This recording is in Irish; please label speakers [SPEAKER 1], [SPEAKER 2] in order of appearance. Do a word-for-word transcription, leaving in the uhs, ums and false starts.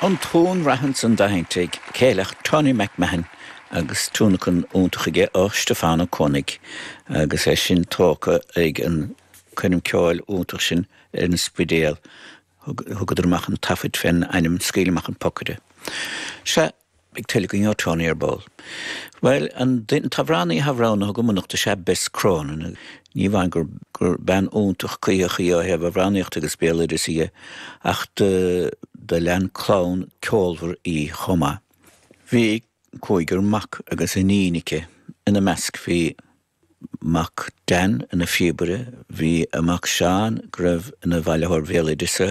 [SPEAKER 1] An tón reathan san d'aintigh céileach Tony McMahon agus tionlacan iontach aige ó Stefano Koenig agus é sin tógtha ag an choirm ceoil iontach sin ar an Spidéal thugadar amach an taifead fén ainm Scaoil Amach an Pocaire. Se ag tuige ó Tony ar ball. Well an t-amhránaí atá roghnaithe agam anocht is ea Bess Cronin ní amháin gur gur bean iontach cuíoch í ó thaobh amhránaíocht agus béaloideas í ach do do lean clann ceolmhar í chomh maith. Bhí cúigear mac agus iníon aici ina measc bhí mac Dan ina phíobaire, bhí a mac Seán go raibh ina bhailitheoir béaloideasa